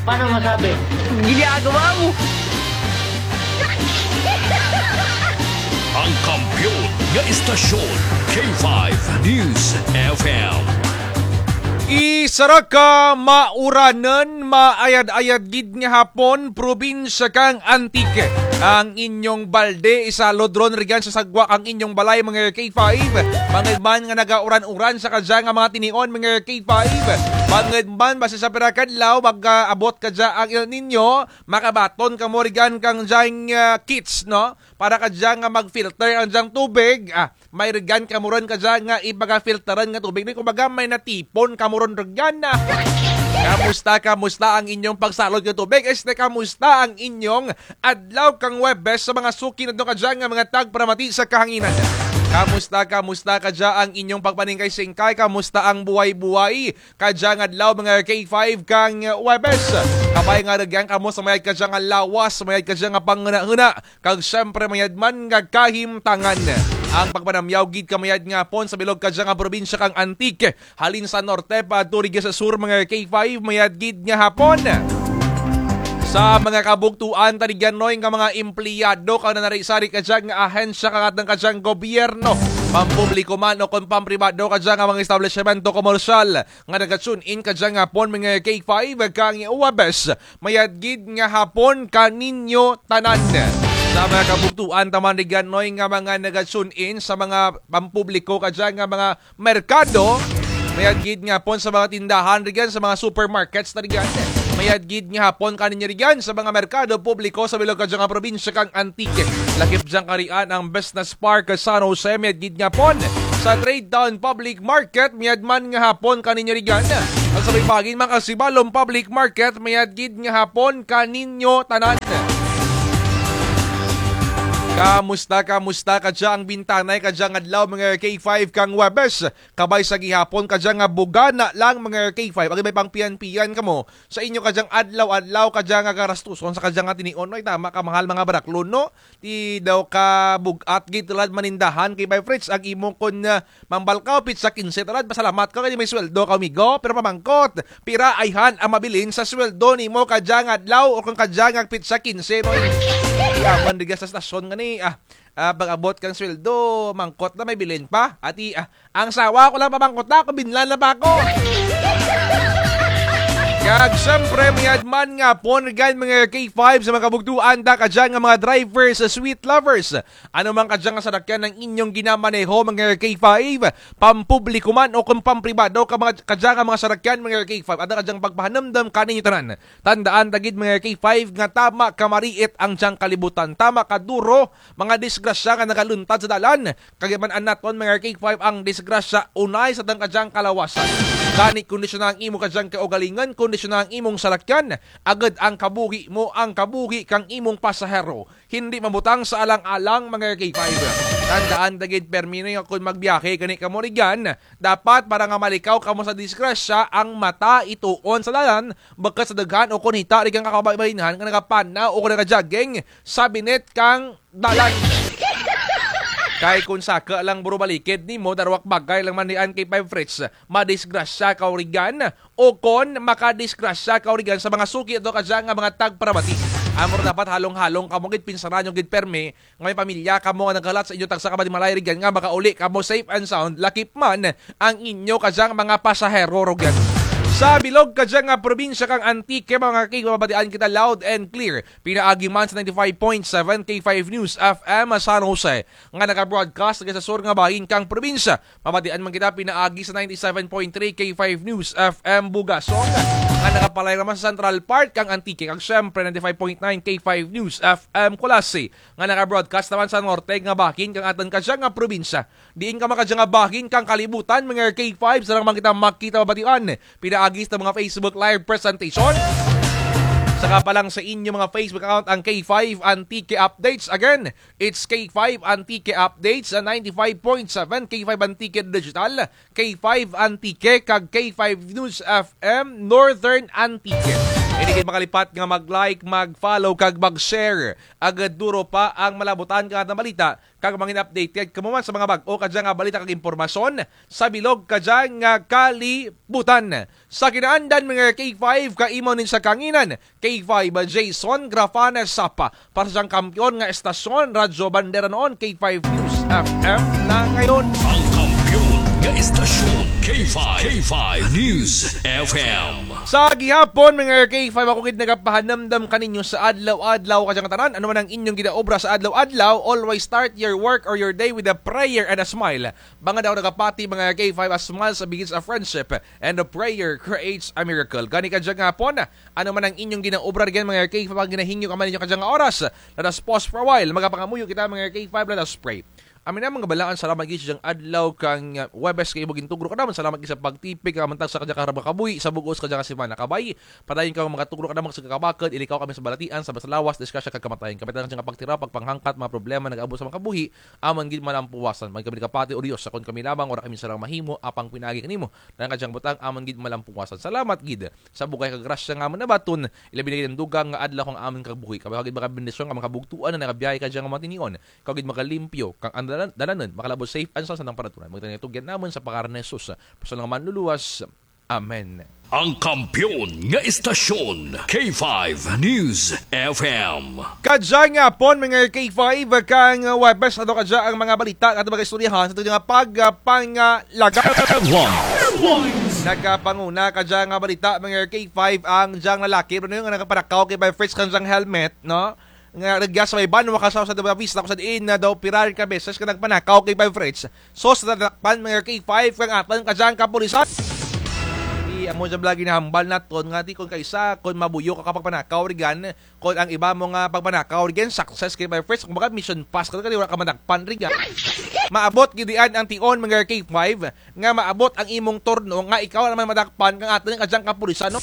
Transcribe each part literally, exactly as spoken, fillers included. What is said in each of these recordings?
Paano masabi? Ginagawa mo! Ang kampiyon nga istasyon, K five News F M. Isara ka mauranan, maayad-ayad gid nga hapon, probinsya kang Antique. Ang inyong balde, isalod ron rugyan sa sagwa kang inyong balay, mga K five. Bangud man nga nagauran-uran sa kadya nga mga tinion, mga K five. Bangud man, basi sa pira ka adlaw, mag-aabot kadya ang El Niño, makabaton kamo rugyan kang dyang, ah, kits, no? Para kadya nga mag-filter ang dyang tubig. Ah, may rugyan kamo ron kadya nga ipaga-filteran nga tubig. Ni kumbaga, may natipon kamo ron rugyan na. Kamusta, kamusta ang inyong pagsalod nga tubig? Este, kamusta ang inyong adlaw kang Huwebes sa mga suki nato kadya nga mga tagparamati sa kahanginan? Kamusta, kamusta kadya ang inyong pagpaningkay-singkay? Kamusta ang buhay-buhay kadya nga adlaw, mga K five, kang Huwebes? Kabay nga rugyan kamo sa mayad kadya nga lawas, sa mayad kadya nga panghunahuna, kag siyempre mayad man nga kahimtangan. Ang pagpanamyaw gid ka mayad nga hapon sa bilog kadya nga probinsya kang Antique, halin sa norte paadto rugya sa sur, mga K five, mayad gid nga hapon. Sa mga kabugtuan ta rugyan, Noy, nga mga empleyado kag nanari-sari kadya nga ahensya kang atun kadyang gobyerno, pampubliko man o kon pampribado kadya nga mga establisyemento komersyal, nga naga-tune in kadya nga hapon, mga K five, kang Huwebes, mayad gid nga hapon kaninyo tanan. Sa mga kabugtuan ta man rugyan, Noy, nga mga naga-tune in sa mga pampubliko kadya nga mga merkado, mayad gid nga hapon sa mga tindahan rugyan, sa mga supermarkets ta rugyan. Mayad gid nga hapon kaninyo rugyan sa mga merkado publiko sa bilog kadya nga probinsya kang Antique. Lakip dyang karian ang Business Park San Jose, mayad gid nga hapon. Sa Trade Town Public Market, mayad man nga hapon kaninyo rugyan. Ang sa Baybayin, Makasibalom Public Market, mayad gid nga hapon kaninyo tanan. Kamusta, kamusta kadya ang bintanay kadya nga adlaw, mga K five, kang Huwebes? Kabay sa gihapon kadya nga bugana lang, mga K five. Agud may pangpiyan-piyan kamo sa inyo kadyang adlaw-adlaw kadya nga garastuson sa kadya nga tinion, Noy. Tama ka, mahal, mga baraklon, no? Ti daw ka bug-at gid tulad manindahan, K five Fritz, ang imo kon, ah, mambalkaw pitsa kinse tulad, pasalamat ka kay may sweldo ka, amigo. Pero pamangkot, pira ayhan ang mabilin sa sweldo nimo kadya nga adlaw o kon kadya nga pitsa kinse, Noy? Yaman rugya sa estasyon ngani, ah, ah, pag-abot kang sweldo, mangkot na may bilin pa. Ati, ah, ang sawa ko lang pamangkot na, ako binlan na pa ako. Kag siyempre, mayad man nga hapon rugyan, mga K five, sa mga kabugtuan ta kadya nga mga drivers, sweet lovers. Ano man kadya nga sarakyan ang inyong ginamaneho, mga K five, pampubliko man o kon pampribado ka mga, kadya nga mga sarakyan, mga K five, adto kadyang pagpahanumdum kaninyo tanan. Tandaan ta gid, mga K five, nga tama ka mariit ang dyang kalibutan, tama ka duro mga disgrasya nga nagaluntad sa dalan. Kag man-an naton, mga K five, ang disgrasya unay sa atun kadyang kalawasan. Gani, kondisyona ang imo kadyang kaugalingon, kondisyona ang imong sarakyan, agud ang kabuhi mo, ang kabuhi kang imong pasahero, hindi mabutang sa alang-alang, mga K five. Tandaan ta gid, permi nga kon magbiyahe gani kamo rugyan, dapat para nga malikaw kamo sa disgrasya, ang mata ituon sa dalan, bukut sa daghan o kon hita rugyan ka kababainhan nga nagapanaw o kon nagajogging sa binit kang dalan. Kay kon saka lang buro balikid nimo, darwa ka bagay lang man rugyan, K five Fritz, madisgrasya kaw rugyan, o kon makadisgrasya kaw rugyan sa mga suki nato kadya nga mga tagparamati. Amo ra dapat halong-halong kamo gid, pinsaran nyo gid permi nga may pamilya kamo nga nagkalat sa inyo tagsa ka panimalay rugyan nga makauli kamo safe and sound, lakip man ang inyo kadyang mga pasahero rugyan. Sa bilog kadya nga probinsya kang Antique, mga K five, mabatian kita loud and clear. Pinaagi man sa ninety-five point seven K five News F M San Jose, nga naga-broadcast rugya sa sur nga bahin kang probinsya. Mabatian man kita pinaagi sa ninety-seven point three K five News F M Bugasong, nga nagapalay naman sa Central Park kang Antique, kag siyempre ninety-five point nine K five News F M Culasi, nga naga-broadcast naman sa norte nga bahin kang atun kadya nga probinsya. Diin ka man kadya nga bahin kang kalibutan, mga K five, sara man kita makita, mabatian pinaagi sa mga Facebook Live presentation. Saka pa lang sa inyo mga Facebook account ang K five Antique Updates. Again, it's K five Antique Updates, ah, ninety-five point seven K five Antique Digital, K five Antique, kag K five News F M Northern Antique. Indi gid makalipat nga mag-like, mag-follow, kag mag-share. Agud duro pa ang malabutan kang atun balita, kag mangin updated kamo man sa mga bag-o kadya nga balita kag impormasyon sa bilog kadya nga kalibutan. Sa kinaandan, mga K five, kaimaw nin sa kanginan, K five Jason Grafana Sapa, para sa dyang kampiyon nga estasyon, Radyo Bandera noon, K five News F M na ngayon. Ang kampiyon nga estasyon, K five, K five News F M. Sa gihapon, mga K five, ako gid nagapahanumdum kaninyo sa adlaw-adlaw kadyang tanan, ano man ang inyong ginaobra sa adlaw-adlaw, always start your work or your day with a prayer and a smile. Bangud ako nagapati, mga K five, a smile sa begins a friendship, and a prayer creates a miracle. Gani kadyang hapon, ano man ang inyong ginaobra rugyan, mga K five, ang ginahingyo ka man ninyo kadyang oras, let us pause for a while. Magapangamuyo kita, mga K five, let us pray. Amin, Among kabalaan, salamat gid sa dyang adlaw kang, uh, Huwebes kay imo gintugro kanamon. Salamat gid sa pagtipig kang amon tagsa kadya kaharap nga kabuhi sa bug-os kadya nga semana. Kabay, padayon kang magatugro kanamon sa kakabakud, ilikaw kami sa balatian, sa lawas, disgrasya kag kamatayon. Kabay ta kadya nga pagtiraw, pagpanghangkat, mga problema nagaabot sa mga kabuhi, amon gid malampuwasan. Magkami kapati, O Dios, sa kon kami lamang, wara kami sarang mahimo, apang pinaagi kanimo. Dalan kadyang butang, amon gid malampuwasan. Salamat gid sa bugay kag grasya nga amon nabaton, ilabi na gid ang dugang nga adlaw kang amon kabuhi. Kabay ka gid makabendisyon kang mga kabugtuan nga nagabiyahe kadyang mga tinion. Ikaw gid makalimpyo kang ang dalan-, dalanon, makalabot safe and sound sa tanang panahon. Magtanyag tugyan namon sa pangaran ni Jesus, personal nga manluluwas. Amen. Ang kampiyon nga estasyon, K five News F M. Kadyang hapon, mga K five, kang Huwebes, ato kadya ang mga balita, ato mga istoryahan, sa ato nga pag-, ah, pangalaga. Headlines. Nagapanguna kadyang balita, mga K five, ang dyang lalaki, pero nga nagapanakaw kay Bay Fritz kang dyang helmet, no? Nga rugya sa may banwa kang San Jose de Buenavista, kung sa diin na daw pira run ka beses kang nagpanakaw kay Bay Fritz. So, sa tatakpan, mga K five, kang atun kadyang kapulisan. Ti, amo dyan bala ginahambal naton, nga ti kon kaisa, kon mabuyo ka kapagpanakaw rugyan, kon ang iba mo nga pagpanakaw rugyan, success kay Bay Fritz, kumbaga, mission pass ka, kay wara ka madakpan rugyan. Maabot gid diyan ang tion, mga K five, nga maabot ang imong turno nga ikaw naman madakpan kang atun kadyang kapulisan, no?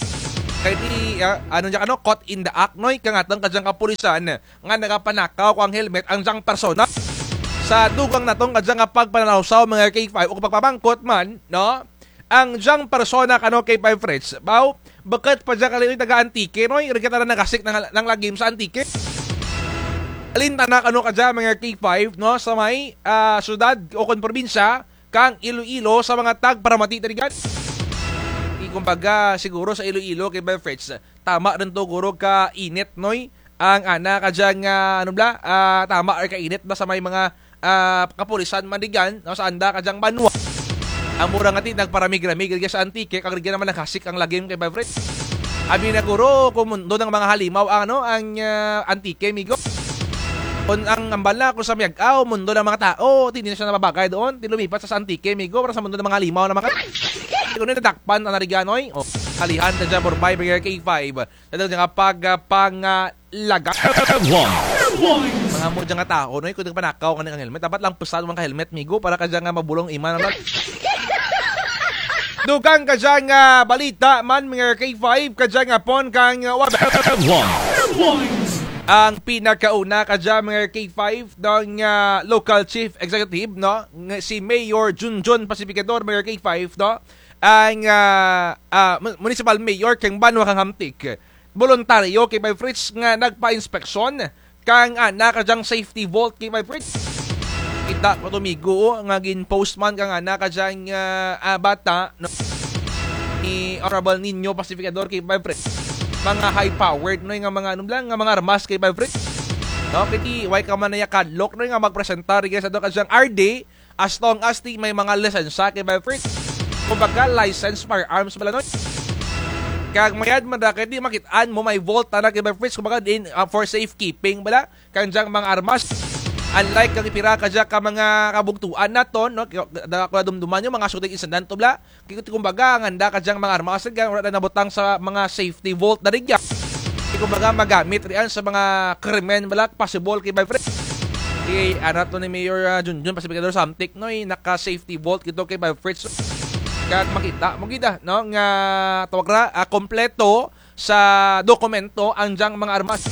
Kay ti, ah, ano dyan, ano, caught in the act, no? Kang atun kadyang kapulisan nga nagapanakaw kang helmet ang dyang persona. Sa dugang natun kadyang nga pagpanalawsaw, mga K five, o pagpamangkot man, no? Ang dyang persona kano, K five Fritz, baw, bukut pa dyan kali taga Antique, no? Rugya tana naghasik nang, nang lagim sa Antique. Alin tana kano kadya, mga K five, no? Sa may, ah, syudad o kon probinsya, kang Iloilo sa mga tagparamati ta rugyan. Ti kumbaga, siguro sa Iloilo, K five Fritz, tama run to guro ka init, noy? Ang ana kadyang, ah, ano bala, ah, tama run ka init bala sa may mga, ah, kapulisan man rugyan, no, sa anda kadyang banwa. Amo ra nga ti nagparamig-ramig rugya sa Antique, kag rugya naman naghasik ang lagim, K five Fritz. Abi na guro, kumundo ng mga halimaw ang, ano, ang, ah, Antique, migo. Kon ang hambal na, kon sa Miag-ao, mundo ng mga tao, ti indi na siya nababagay doon, ti lumipat sa Antique, migo, para sa mundo ng mga halimaw na mga. Kon nadakpan, ang nariganoy, o, kalihan, ta dyan, Borbay, K five. Sa dyan nga pag, ah, pangalaga. Headlines. Mga amo dyan nga tao, no? Kon nagpanakaw kang helmet, dapat lang pesan man ka helmet, migo, para kadyan nga mabulong ima naman. Dugang kadyan nga balita man, mga K five, kadyan nga pon kang, ah, Huwebes. Headlines. Ang pinakauna kadyan, mga K five, dang, ah, local chief executive, no? Nga si Mayor Junjun Pacificador, mga K five, no? Ang, ah, ah, mu-, municipal mayor kang banwa kang Hamtic. Boluntaryo, K five Fritz, nga nagpa-inspeksyon kang ana kadyang safety vault, K five Fritz. Kita ko to, migo, o, nga gin-post man kang ana kadyang, ah, ah, bata, no? Ni Honorable Nino Pacificador, K five Fritz. Mga high-powered, no, nga mga, ano lang, nga mga armas, K five Fritz. No, kay ti, wara ka man naya kadlok, no, nga magpresentar, kay sa to kadyang R D, as long as ti may mga lisensya, K five Fritz. Kumbaga, licensed firearms bala, no? Kag mayad man ra kay ti makit-an mo may vault tana, K five Fritz. Kumbaga, din, ah, for safekeeping bala kang dyang mga armas. Unlike kang pira kadya ka mga kabugtuan naton, no? Kay, da-, ko dumduman ninyo, mga shooting incident to bala. Kay, kumbaga, ang anda kadyang mga armas, gan, wara na nabutang sa mga safety vault na rugya. Kay, kumbaga, magamit riyan sa mga krimen bala, possible, K five Fritz. Kay, ana to ni Mayor, ah, Junjun Pacificador sa Hamtic, no, eh, naka-safety vault kito, K five Fritz. Kag makita mo gid, ah, no, nga tawag ra, ah, kompleto sa dokumento ang dyang mga armas.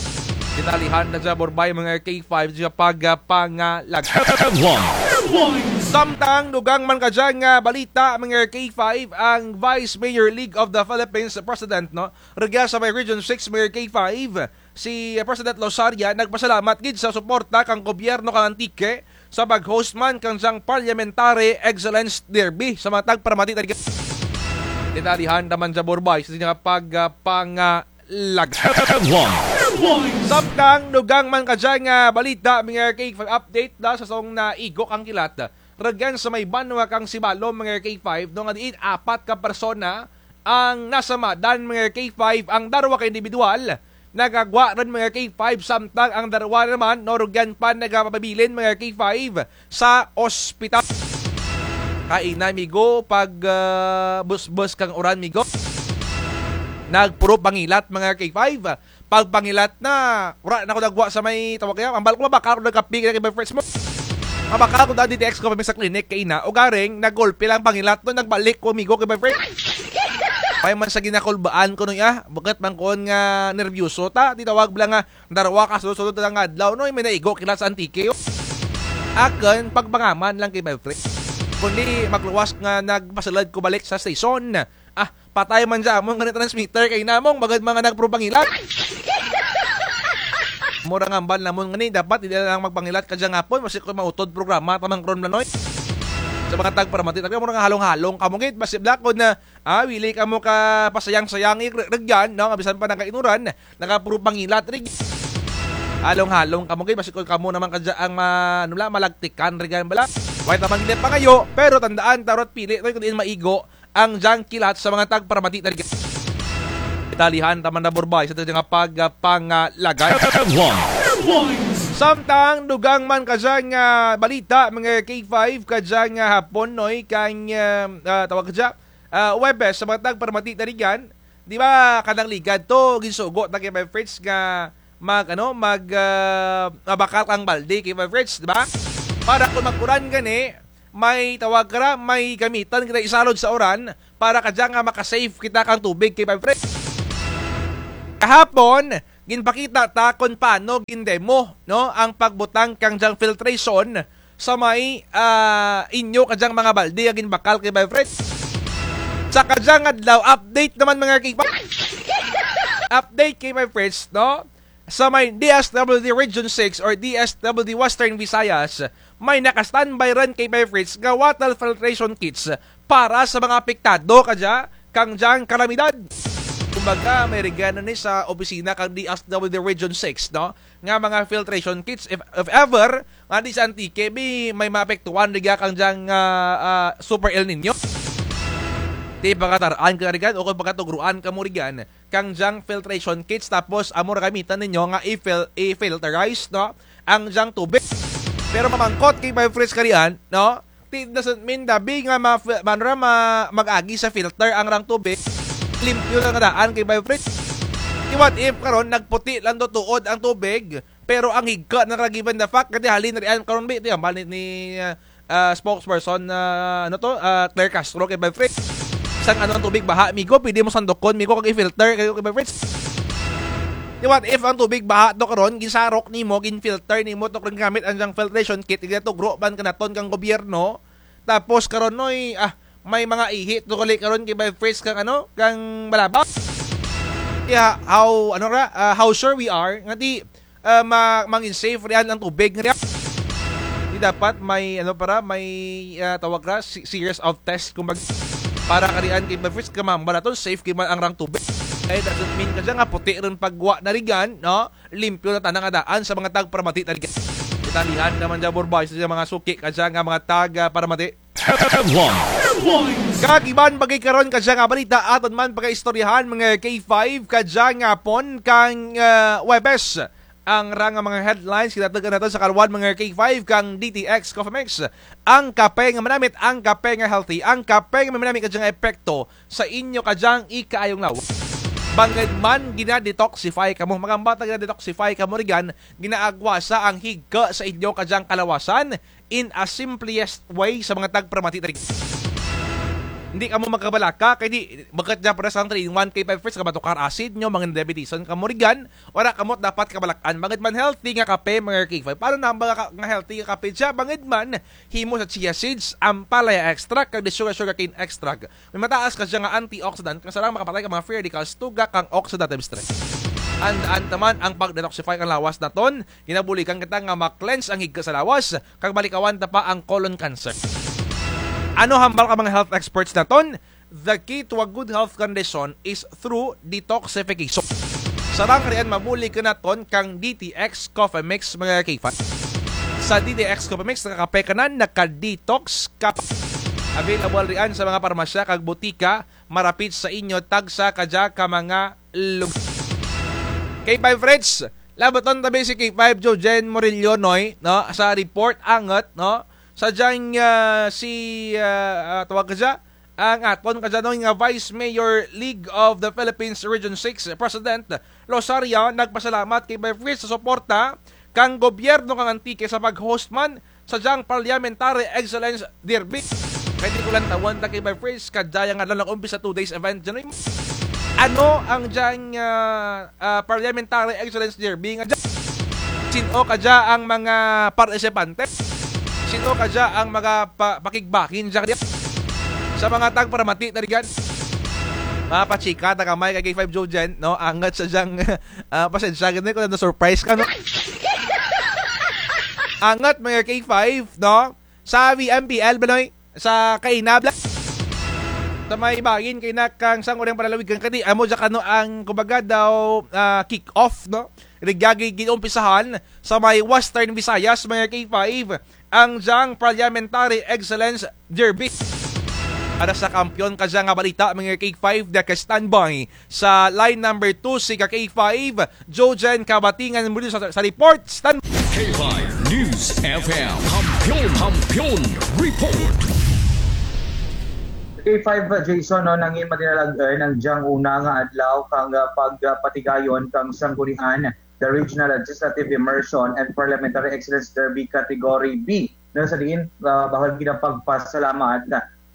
Detalyehan na dya, Borbay, mga K five, sa pag, ah, pangalaga. Headlines. Samtang dugang man kadya nga balita, mga K five, ang Vice Mayor League of the Philippines President, no? Rugya sa may Region six, mga K five, si President Losaria nagpasalamat gid sa suporta kang gobyerno kang Antique sa pag-host man kang dyang Parliamentary Excellence Derby sa mga tagparamati. Detalyehan ta man dya, Borbay, sa dyang pag, ah, pang, ah, lag. Headlines. Samtang dugang man kadya nga balita, mga K five, update da sa song naigo kang kilat. Rugyan sa may banwa kang Sibalom, mga K five, no, nga diin apat ka persona ang nasamadan, mga K five, ang darwa ka indibidwal nakagwa run, mga K five, samtang ang darwa naman, no, rugyan pa nagapabilin, mga K five, sa ospital. Kaina, migo, pag, ah, busbus kang uran, migo. Nagpuro pangilat, mga K five. Pagpangilat na, wara na ko nagwa sa may tawag kaya, mabakal ko, mabakal ko nagkape kay Boy Fritz mo. Mabakal ko daan D T X ko pa mi sa klinik kaina, ugaring, nagulpi lang pangilat, no, nagbalik ko, migo, kay Boy Fritz. May man sa ginakulbaan ko, no, ya, bukut man ko nga nerbyoso ta, di tawag bala nga, darwa ka sunod-sunod nga adlaw, no, may naigo kilat sa Antique, oh. Akun, pagpangaman lang kay Boy Fritz. Kundi, magluwas nga nagpasulud ko balik sa station. Ah, patay man dya amon ngani transmitter kay namong, baga mga nagpuro pangilat. Mura nga hambal namon ngani, dapat indi na lang magpangilat kadya nga hapon, basi kon mautod programa ta man karon, Blanoy. Sa mga tagparamati, talaga mura nga halong-halong kamo gid, basi bala kon, ah, wili kamo kapasayang-sayang, eh, rugyan, no, nga bisan pa nakainuran, nakapuro pangilat, rig. Halong-halong kamo gid, basi kon kamo naman kadya ang ma-, ano bala, malagtikan, rugyan bala. Way ta man gid pangayo, pero tandaan, ta wara't pili, no, kon diin maigo, ang dyang kilat sa mga tagparamati talaga. Detalyehan ta man dya, Borbay, sa aton nga pagpangalagad. Samtang dugang man kadya nga balita, mga K five, kadya nga hapon, noy, kang, ah, ah, tawag kadya, ah, Huwebes sa mga tagparamati talaga. Di ba, kanang ligad to, ginsugo ta kay Boy Fritz nga mag, ano, mag, ah, mabakal kang balde kay Boy Fritz, di ba? Para kon mag-uran gani, may tawag kara, may gamitan kita isalod sa uran para kadya nga maka-save kita kang tubig kay Boy Fritz. Kahapon, ginpakita ta kon paano gin-demo, no, ang pagbutang kang dyang filtration sa may, ah, inyo kadyang mga balde nga ginbakal kay Boy Fritz. Sa kadyang adlaw, update naman, mga K five. Update kay Boy Fritz, no? Sa may D S W D Region six or D S W D Western Visayas, may naka-standby run kay Boy Fritz nga water filtration kits para sa mga apektado kadya kang dyang kalamidad. Kumbaga, may rugyan na ni sa opisina kang D S W D Region six, no? Nga mga filtration kits, if, if ever, nga di sa Antique, bi, may maapektuhan rugya kang dyang, ah, ah, Super El Niño. Ti pakatar-an ka rugyan, o kon pakatugruan kamo rugyan, kang dyang filtration kits, tapos amo ra gamitan ninyo nga i-fil-, i-filterize, no? Ang dyang tubig. Pero mamangkot kay Boy Fritz karian, no? Ti doesn't mean dabi nga ma-, manra ma-, mag-agi sa filter ang rang tubig. Limpyo lang daan kay Boy Fritz. Ti what if karon nagputi lang do tuod ang tubig, pero ang higka na ra given the fact, kay halin rian karon bi, ti hambal ni, ni, ah, ah, spokesperson, ah, ano to, ah, Claire Castro kay Boy Fritz. Sang ano ang tubig baha, migo, pwede mo sandukon, migo, kag i-filter kayo kay Boy Fritz. Ti what if ang tubig baha to karon, ginsarok nimo, gin-filter nimo to karon gamit ang dyang filtration kit, igatugro man kanaton kang gobyerno. Tapos karon, noy, ah, may mga ihi to gali karon kay Boy Fritz kang ano, kang Malabak. Kaya how, ano ra, ah, how sure we are nga ti, ah, ma-, mangin safe rian ang tubig nga rian. Ti dapat may, ano, para may, ah, tawag ra, se-, series of test, kumbaga, para karian kay Boy Fritz, kay mahambal naton safe gid man ang rang tubig. Kay doesn't mean kadya nga puti run paggwa na rugyan, no? Limpyo na tana nga daan sa mga tagparamati talaga. Detalyehan ta man dya, Borbay, sa mga suki kadya nga mga tagparamati. Headlines. Kag iban pa gid karon kadya nga balita, aton man pagaistoryahan, mga K five, kadya nga hapon kang, ah, Huwebes. Ang ra nga mga headlines, kinatug-an naton sa kaluwayan, mga K five, kang D T X Coffee Mix. Ang kape nga manamit, ang kape nga healthy, ang kape nga may manamit kadya nga epekto sa inyo kadyang ikaayong lawom. Bangud man gina-detoxify kamo, mga bata, gina-detoxify kamo rugyan, ginaagwasa ang higka sa inyo kadyang kalawasan in a simplest way sa mga tagparamati talaga. Hindi kamo magkabalaka, kay di, bukut dyan pares ang three in one K five Fruits, nga matukar acid nyo, mga diabetison kamo rigan, wara kamo dapat kabalak-an. Bangud man healthy nga kape, mga K five. Paano na ang mga ka-, nga healthy nga kape dyan? Bangud man, himo sa chia seeds, ampalaya extract, kag di sugar, sugarcane extract. May mataas kadya nga antioxidant, nga sarang makapatay kang mga free radicals, tugak kang oxidative stress. Andaan ta man ang pag-detoxify kang lawas naton, ginabuligan kita nga ma-cleanse ang higka sa lawas, kag malikawan ta pa ang colon cancer. Ano hambal kang mga health experts naton? The key to a good health condition is through detoxification. Sarang karian mabulig kanaton kang D T X Coffee Mix, mga K five. Sa D T X Coffee Mix, nakakape ka na, naka-detox ka pa. Available rian sa mga parmasya kag butika, marapit sa inyo, tagsa kadya ka mga lugar. K five Fritz, labaton tabi si K five Jojen Murillo, Noy, no? Sa report, angut, no? Sa dyang, ah, si, ah, ah, tawag ka dya, ang aton kadya, Noy, nga Vice Mayor League of the Philippines Region six President Losaria, nagpasalamat kay Vice Fritz sa suporta kang gobyerno kang Antique sa pag-host man sa dyang Parliamentary Excellence Derby. Pwede ko lang tawon ta kay Vice Fritz, kadya nga adlaw nag-umpisa two days event dyan. Ano ang dyang, ah, ah, Parliamentary Excellence Derby nga dyan? Sin-o kadya ang mga partisipante? Sin-o kadya ang mga pa-, pakigbakin dyan kadya? Sa mga tagparamati, tarigan. Mapachika ta kamay kay K five Jojen, no? Angut sa dyang, ah, pasensya, gani ko na surprise ka, no? Angut, mga K five, no? Sa V M P L, Baloy, sa kaina, bla-, sa may bahin kaina kang Sangguniang Panlalawigan, kadi, amo dya kano ang, kumbaga daw, ah, kick-off, no? Rugya gid ginumpisahan sa may Western Visayas, mga K five, ang dyang Parliamentary Excellence Derby. Para sa kampiyon kadya nga balita, mga K five, naka-standby sa line number two si ka K five, Jojen Kabatingan, muli sa, sa report. Stand K five News F M. Kampiyon, Kampiyon Report. K five, uh, Jason, no, nangin madinalag, eh, ang dyang una nga adlaw kang, uh, pagpatigayon kang sanggunian, the Regional Legislative Immersion and Parliamentary Excellence Derby Category B. No, sa diin, uh, bahul gid ang pagpasalamat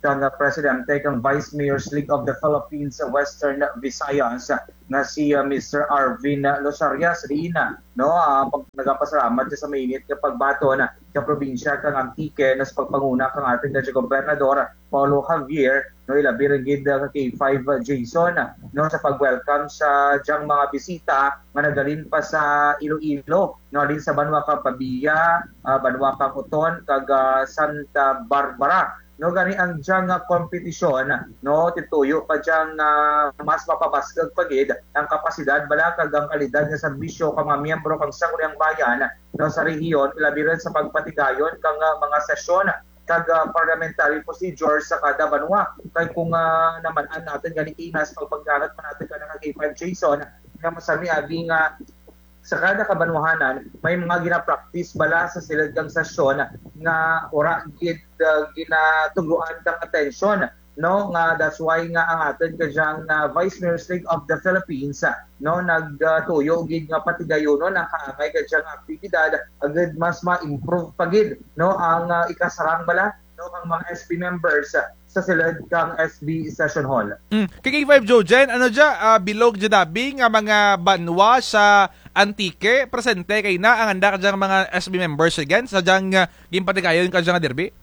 kang, uh, Presidente kang Vice Mayors League of the Philippines Western Visayas, nga si, ah, Mister Arvin, ah, Losaria, sa diin, ah, no, ah, pag-, nagapasalamat dya sa mainit nga pagbaton, ah, ka probinsya kang Antique, no, sa pagpanguna kang atun nga Gobernador, Paolo Javier, no, ilabi run gid, ah, ka K five, ah, Jason, ah, no, sa pag-welcome sa dyang mga bisita nga naghalin pa sa Iloilo, no, halin sa banwa kang Pavia, ah, banwa kang Oton, kag, ah, Santa Barbara. No, gani ang dyang, ah, kompetisyon, no, tituyo pa dyang, ah, mas mapabaskug pa gid ang kapasidad bala kag ang kalidad nga serbisyo kang mga miyembro kang Sangguniang Bayan, no, sa rehiyon, ilabi run sa pagpatigayon kang, ah, mga sesyon kag, ah, parliamentary procedure sa kada banwa. Kay kung, ah, naman-an natun gani kaina sa pagpangganat man natun kana ka K five Jason, nga masami abi nga sa kada kabanwahanan, may mga gina-practice bala sa sulud kang sesyon nga wara gid, ah, ginatugruan kang atensyon, no? Nga that's why nga ang atun kadyang, ah, Vice Mayors League of the Philippines, ah, no, nagtuyo gid nga patigayunon ang kaangay kadyang aktibidad agud mas ma-improve pa gid, no, ang, ah, ikasarang bala, no, kang mga S B members, ah, sa sulud kang S B Session Hall. Mm. Kay K five Jojen, ano dya, ah, bilog dya dabi nga mga banwa sa Antique, presente kaina ang anda kadyang mga S B members again sa dyang, ah, ginpatigayon kadyang derby?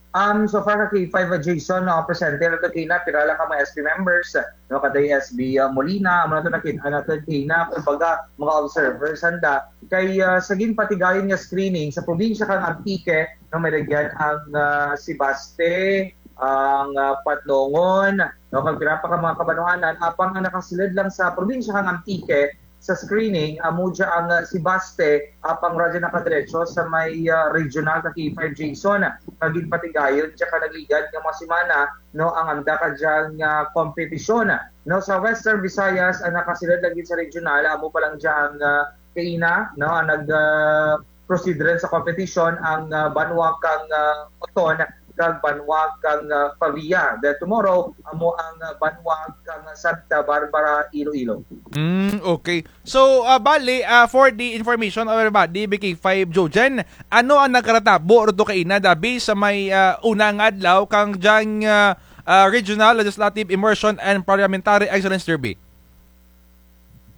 Um, so far ka K five, ah, Jason, no, presente na to kaina, pira lang ka mga S B members, no, kaday S B, ah, Molina, amo na to nakit-an natun kaina, kumbaga, mga observers, anda. Kay, ah, sa ginpatigayon nga screening sa probinsya kang Antique, no, may rugyan ang, ah, Sebaste, ang, ah, Patnongon, no, kag pira pa ka mga kabanwahanan, apang ang nakasulud lang sa probinsya kang Antique sa screening, amo dya ang, ah, Sebaste, apang wara dya nakadiretso sa may, ah, regional ka K five Jason, nga ginpatigayon dya kaligad nga mga semana, no, ang anda kadyang, ah, kompetisyon, no, sa Western Visayas, ang nakasulud lang gid sa regional, amo pa lang dya ang, ah, kaina, no, ang nag, ah, proceed run sa competition ang, ah, banwa kang, ah, Oton, kag banwa kang, ah, Pavia. Then tomorrow, amo ang, ah, banwa kang Santa Barbara, Iloilo. Mm, okay. So, ah, bali, ah, for the information of everybody, B K five Jojen, ano ang nagkaratabo rugto kaina, dabi sa may, ah, una nga adlaw kang dyang, ah, ah, Regional Legislative Immersion and Parliamentary Excellence Derby?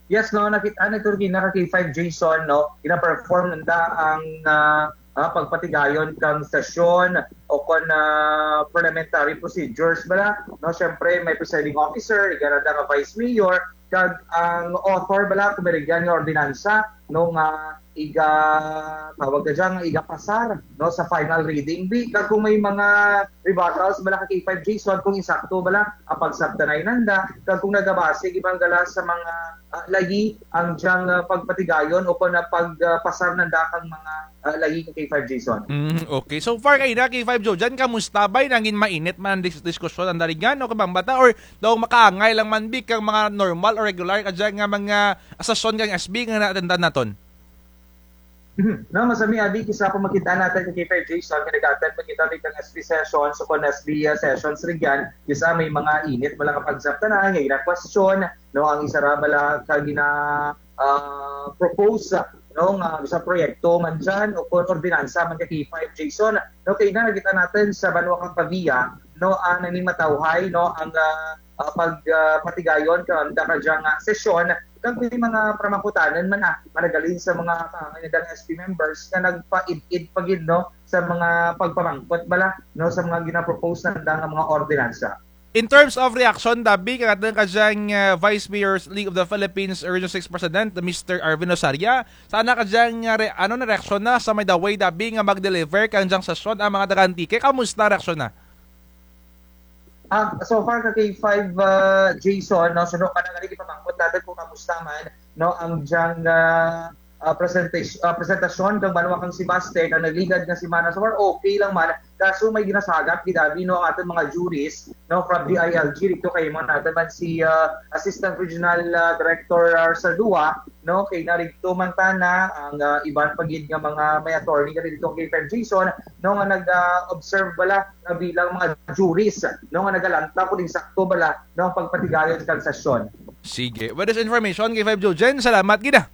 Yes, no, nakit-an nato rugto kaina ka K five Jason, no, gina-perform nanda ang, ah, ah, pagpatigayon kang sesyon o kon, ah, parliamentary procedures bala, no, syempre may presiding officer, rugya nanda nga vice mayor, kag ang author bala kon may rugyan nga ordinansa, no, nga iga-, tawag ka dyan, nga igapasar, no, sa final reading. Bi, kag kon may mga rebuttals bala ka K five Jason, kon insakto bala ang pagsabtanay nanda, kag kon nagabase gid man gala sa mga, ah, layi ang dyang, ah, pagpatigayon o kon, ah, pagpasar nanda kang mga, ah, layi ka K five Jason. Mm, okay. So far kaina, K five Jojen, kamusta bay? Nangin mainit man ang dis-, diskusyon nanda rugyan, o kabambata, or daw makaangay lang man bi kang mga normal o regular kadya nga mga sesyon kang S B nga na-attendan naton? Mhm. No, masami abi, kis-a kon makit-an natun ka K five Jason, nga nag-attend man kita bi kang S B sessions, o kon S B, ah, sessions rugyan, kis-a may mga init man lang nga pagsabtanay, nga gina-question, no, ang isara bala ka gina-, ah, propose, no, nga bisan proyekto man dyan, o kon ordinansa man ka K five Jason, no, kay nakit-an natun sa banwa kang Pavia, no, ang nangin matawhay, no, ang, ah, ah, pag, ah, patigayon kanda kadyang, ah, sesyon, kag may mga pamangkutanun man, ah, nga naghalin sa mga kaangay nandang S B members nga nagpaid-id pa gid, no, sa mga pagpamangkot bala, no, sa mga gina-propose nanda nga mga ordinansa. In terms of reaction, dabi, kang atun kadyang, ah, Vice Mayor's League of the Philippines Region six President, Mister Arvin Osaria, sa ana kadyang, ah, re-, ano na reaksyon na sa may daway, dabi, nga mag-deliver kang dyang sesyon ang mga taga-Antique? Kamusta reaksyon na? Ah, so far ka K five, ah, Jason, no, suno kana gani gipamangkot natun kon kamusta man, no, ang dyang, ah, ah, presentas-, ah, presentasyon kang banwa kang Sebaste kang nagligad nga semana. So far, okay lang man. Kaso may ginasagap gid abi, no, ang atun mga juries, no, from D I L G, didto kay imo natun man si, ah, Assistant Regional, ah, Director, ah, Saldua, no, kay narugto man tana ang, ah, iban pa gid nga mga may attorney nga didto kay Fred Jason, no, nga nag, ah, observe bala nga bilang mga juries, no, nga nagalanta kon insakto bala, no, ang pagpatigayon kang sesyon. Sige. With this information, K five Jojen, salamat gid, ah.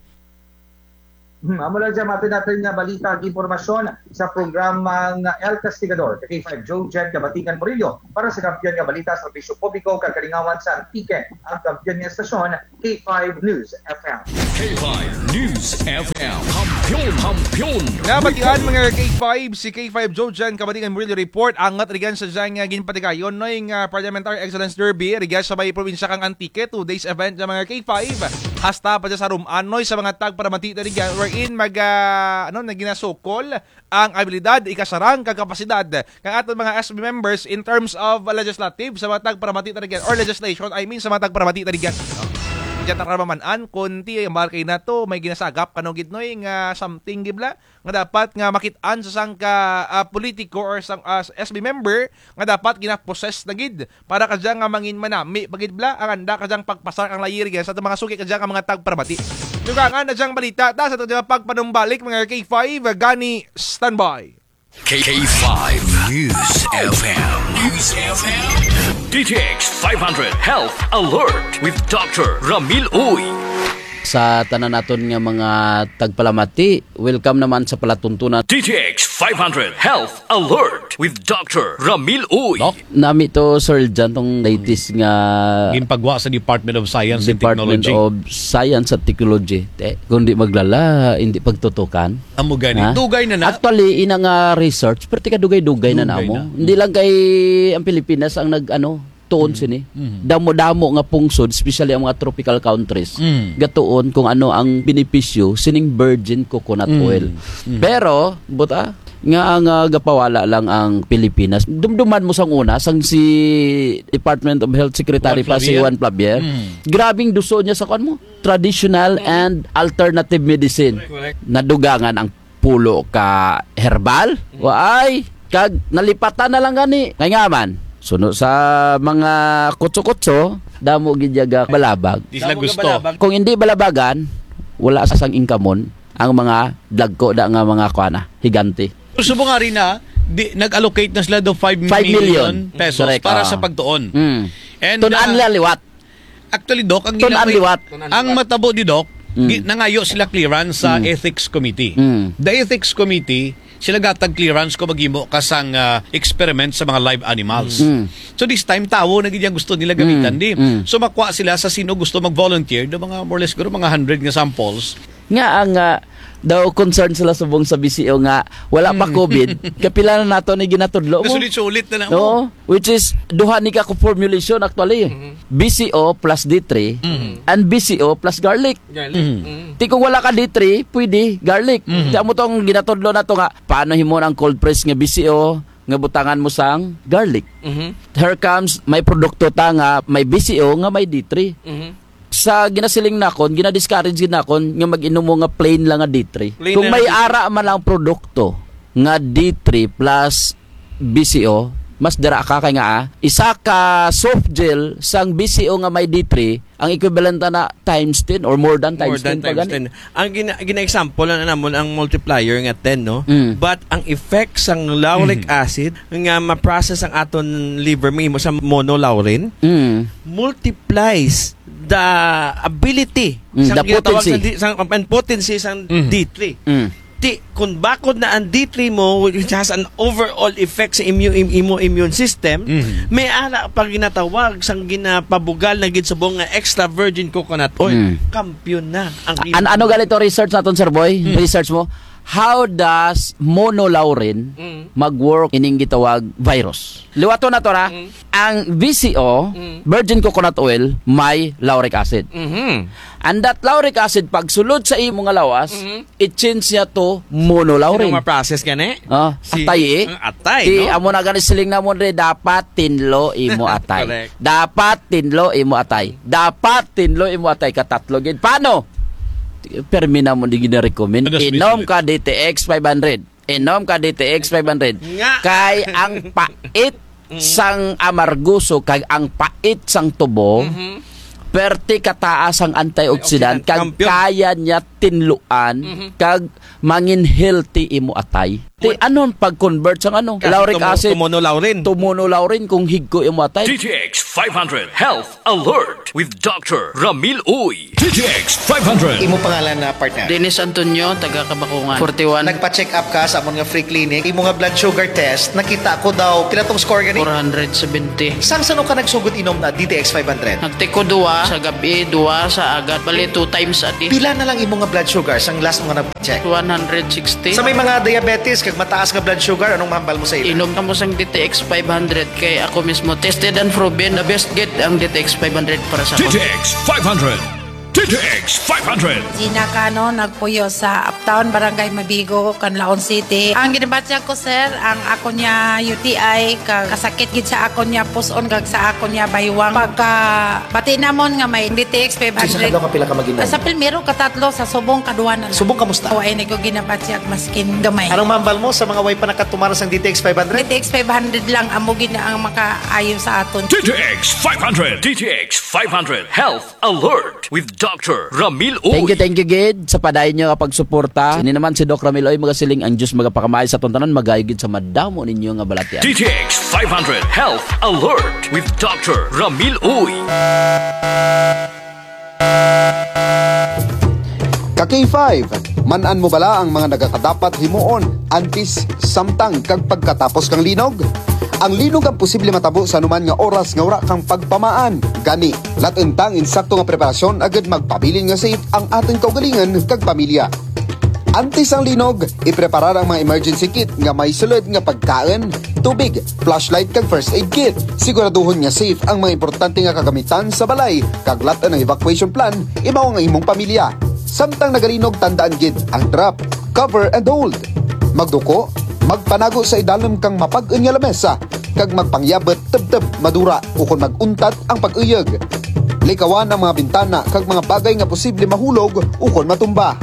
Hmm, amo lang dyan, matun natun nga balita kag impormasyon sa programang El Castigador. Ka K five Jojen Kabatigan Murillo, para sa Kampiyon nga Balita, Serbisyo Publiko kag Kalingawan sa Antique, ang kampiyon nga estasyon, K five News F M. K five News F M. Kampiyon, kampiyon. Nabatian, mga K five, si K five Jojen Kabatigan Murillo report. Angat rugyan sa dyang, ah, ginpatigayon, no, nga, ah, Parliamentary Excellence Derby rugyan sa may probinsya kang Antique, two days event nga, mga K five. Hasta pa dyan sa Rum-an, no, sa mga tagparamati na rugyan, wherein mag, ah, ano, nga ginasukol ang abilidad, ikasarang kag kapasidad kang atun mga S B members in terms of legislative sa mga tagparamati na rugyan, or legislation, I mean, sa mga tagparamati na rugyan. Dyan tara maman-an kon ti, ambal kay nato, may ginasagap kano gid, no, nga something gid bala nga dapat nga makit-an sa sangka, ah, politiko or sang, ah, S B member nga dapat gina-possess na gid para kadya nga mangin manami pa gid bala ang anda kadyang pagpasar kang layi rugyan sa atun mga suki kadya nga mga tagparamati. Dugangan na dyang balita ta sa atun dyang pagpanumbalik, mga K five, gani standby. K five News F M. News F M. D T X five hundred Health Alert with Doctor Ramil Uy. Sa tanan natun nga mga tagpalamati, welcome naman sa palatuntunan. D T X five hundred Health Alert with Doctor Ramil Uy. Doc? Nami to, Sir Jan, tong latest nga ginpagwa sa Department of Science and Technology. Department of Science at Technology. Te, kung di maglala, hindi pagtutukan. Amo gani. Ha? Dugay na na. Actually, ina nga research, pero tika dugay-dugay na na mo. Dugay na. Hindi lang kay ang Pilipinas ang nag, ano, tuon sini. Mhm. Damo-damo nga pungsod, especially ang mga tropical countries. Mm. Gatuon kung ano ang benepisyo sining virgin coconut oil. Mm. Pero, buta, nga ang, ah, gapawala lang ang Pilipinas. Dumduman mo sang una, sang si Department of Health Secretary pa si Juan Flavier. Mm. Grabing duso niya sa kuan mo, traditional and alternative medicine. Correct. Nadugangan ang pulo ka herbal. Mm. Waay, kag nalipatan na lang gani. Kay nga man, suno sa mga kutso-kutso, damo gid dya gabalabag. Di sila gusto. Kung hindi balabagan, wala sa sang income-on ang mga dagko da nga mga kuan na, higante. Pero subong ari na, Di, nag-allocate na sila do five million pesos para sa pagtuon. And, ah, actually, Doc, ang ginamay-, ang matabo di, Doc, gi-, nangayo sila clearance sa ethics committee. The ethics committee, sila gatag clearance kon maghimo ka sang, ah, experiment sa mga live animals. So this time, tawo na gid ang gusto nila gamitan, di. So makwa sila sa sin-o gusto mag-volunteer, do mga more or less siguro mga hundred nga samples. Nga ang, ah, daw concern sila subong sa B C O nga wala pa COVID, kapila na nato ni ginatudlo mo. Nasulit-sulit na na mo. Oo, which is duha ni ka formulation actually. B C O plus D three and B C O plus garlic. Ti kung wala ka D three, pwede garlic. Ti amo tong ginatudlo nato nga, paano himuon ang cold press nga B C O nga butangan mo sang garlic? Here comes, may produkto ta nga may B C O nga may D three. Sa ginasiling nakon, gina-discourage gid nakon nga mag-inom mo nga plain lang nga D three. Kung may ara man lang produkto nga D three plus B C O, mas dara ka kay nga, ah, isa ka soft gel sang B C O nga may D three, ang equivalent na times ten or more than times ten pa gani. Ang gina-, gina-example na namon ang multiplier nga ten, no? But ang effect sang lauric acid nga ma-process ang aton liver, mahimo sa monolaurin, multiplies the ability, sang ginatawag potency. Sang D-, sang, ang potency sang D three. Ti, kung bakod na ang D three mo, which has an overall effect sa immu-, im-, imo immune system, may ara pa ginatawag sang ginapabugal na gid subong nga extra virgin coconut oil. Kampiyon na ang imo. An-, ano gali to research naton, Sir Boy? Research mo? How does monolaurin mag-work ining gitawag virus? Liwaton nato ra, ang V C O, virgin coconut oil, may lauric acid. And that lauric acid, pagsulod sa imo nga lawas, i-change niya to monolaurin. Ano ma-process gani? Ah, atay, eh. Atay, no? Ti, amo na gani siling namon ri, dapat tinlo imo atay. Correct. Dapat tinlo imo atay. Dapat tinlo imo atay, katatlo gid. Paano? Permi namon di gina-recommend. Inom ka D T X five hundred. Inom ka D T X five hundred. Nga. Kay ang pait sang amargoso, kag ang pait sang tubo, perti kataas ang antioxidant, kag kaya niya tinluan, kag mangin healthy imo atay. Ti, ano ang pag-convert sang ano? Lauric acid to monolaurin. To monolaurin kung higko imo atay. D T X five hundred Health Alert with Doctor Ramil Uy. D T X five hundred. Imo pangalan na, partner? Dennis Antonio, taga Kabakungan. Forty-one. Nagpa-check up ka sa amon nga free clinic. Imo nga blood sugar test, nakita ko daw, pila tong score gani? Four hundred seventy. Sang san-o ka nagsugod inom na D T X five hundred? Nagtake ko duwa sa gab-i, duwa sa agahon. Bali, two times a day. Pila na lang imo nga blood sugar sang last mo nga nagpa-check? One hundred sixty. Sa may mga diabetes kag mataas nga blood sugar, anong mahambal mo sa ila? Inom kamo sang D T X five hundred kay ako mismo tested and proven, the best gid ang D T X five hundred para sa akon. D T X five hundred. D T X five hundred. Gina Cano, nagpuyo sa Uptown, Barangay Mabigo, Canlaon City. Ang ginabatyag ko, sir, ang akon nga U T I, kag kasakit gid sa akon nga pus-on, kag sa akon nga baywang. Pagkabati namon nga may D T X five hundred. Sa kadlaw, kapila ka mag-inom? Sa primero, katatlo, sa subong, kaduha na lang. Subong, kamusta? Wa na ko ginabatyag maskin gamay. Anong mahambal mo sa mga way pa nakatumar sang D T X five hundred? D T X five hundred lang, amo gid na ang makaayo sa aton. D T X five hundred. D T X five hundred Health Alert with Doctor Ramil Uy. Thank you, thank you gid sa padayon ninyo nga pagsuporta. Ini naman si Doc Ramil Uy, magasiling ang Diyos magapakamaayo sa aton tanan, mag-ayo gid sa madamo ninyo nga balatyan. D T X five hundred Health Alert with Doctor Ramil Uy. Ka K five, man-an mo bala ang mga nagakadapat himuon antes, samtang, kag pagkatapos kang linog? Ang linog ang posible matabo sa anuman nga oras nga wara kang pagpamaan. Gani, lat-un ta ang insakto nga preparasyon agud magpabilin nga safe ang atun kaugalingun kag pamilya. Antes ang linog, ipreparar ang mga emergency kit nga may sulud nga pagkaun, tubig, flashlight kag first aid kit. Siguraduhon nga safe ang mga importante nga kagamitan sa balay, kag lat-un ang evacuation plan, imaw ang imong pamilya. Samtang nagalinog, tandaan gid ang drop, cover and hold. Magduko, magpanago sa idalum kang mapag-un nga lamesa, kag magpangyabut tubtub madura ukon mag-untad ang pag-uyug. Likawan ang mga bintana kag mga bagay nga posible mahulog ukon matumba.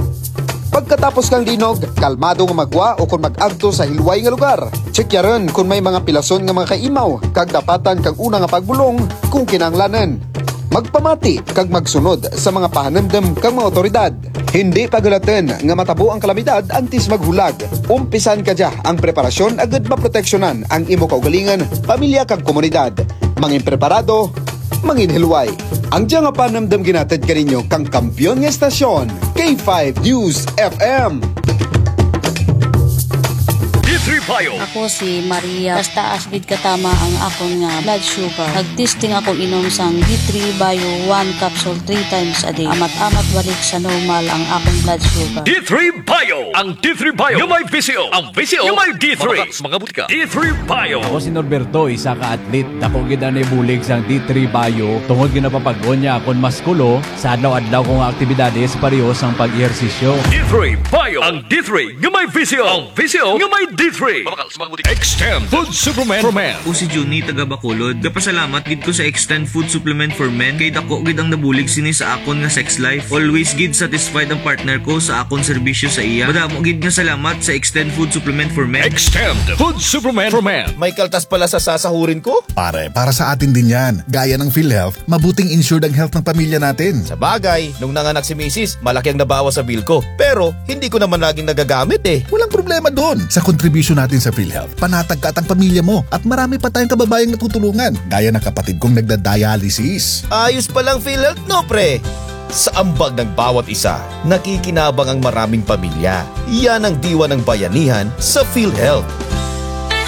Pagkatapos kang linog, kalmado nga maggwa ukon mag-agto sa hilway nga lugar. Tsekyarun kon may mga pilason nga mga kaimaw, kag dapatan kang una nga pagbulong kon kinahanglanun. Magpamati kag magsunod sa mga pahanumdum kang mga awtoridad. Hindi paghulatun nga matabo ang kalamidad antes maghulag. Umpisan kadya ang preparasyon agud maproteksyonan ang imo kaugalingun, pamilya kag komunidad. Mangin preparado, mangin hilway. Ang dya nga panumdum ginahatid kaninyo kang kampiyon nga estasyon, K five News F M. D three Bio. Ako si Maria. Taas-taas gid katama ang akon nga blood sugar. Nag-testing ako inom sang D three Bio one capsule three times a day. Amat-amat balik sa normal ang akon blood sugar. D three Bio. Ang D three Bio nga may V C O. Ang V C O nga may D three. Mabakal sa mga butika. D three Bio. Ako si Norberto, isa ka athlete. Dako gid ang naibulig sang D three Bio tungod ginapapag-on niya akon muskulo sa adlaw-adlaw ko nga aktibidades, pareho sang pag-ehersisyo. D three Bio. Ang D three nga may V C O. Ang V C O nga may D three. Mabakal sa mga butika. Extend Food Supplement for Men. Ako si Junie, taga Bacolod. Gapasalamat gid ko sa Extend Food Supplement for Men kay dako gid ang nabulig sini sa akon nga sex life. Always gid satisfied ang partner ko sa akon serbisyo sa iya. Madamo gid nga salamat sa Extend Food Supplement for Men. Extend Food Supplement for Men. May kaltas pala sa sasahurin ko? Pare, para sa atin din yan. Gaya ng PhilHealth, mabuting insured ang health ng pamilya natin. Sabagay, nung nanganak si misis, malaki ang nabawas sa bill ko. Pero, hindi ko naman laging nagagamit eh. Walang problema doon. Sa kontribusyon natin sa PhilHealth, panatag ka at ang pamilya mo. At marami pa tayong kababayang natutulungan, gaya ng kapatid kong nagda-dialysis. Ayos palang PhilHealth, no, pre? Sa ambag ng bawat isa, nakikinabang ang maraming pamilya. Yan ang diwa ng bayanihan sa PhilHealth.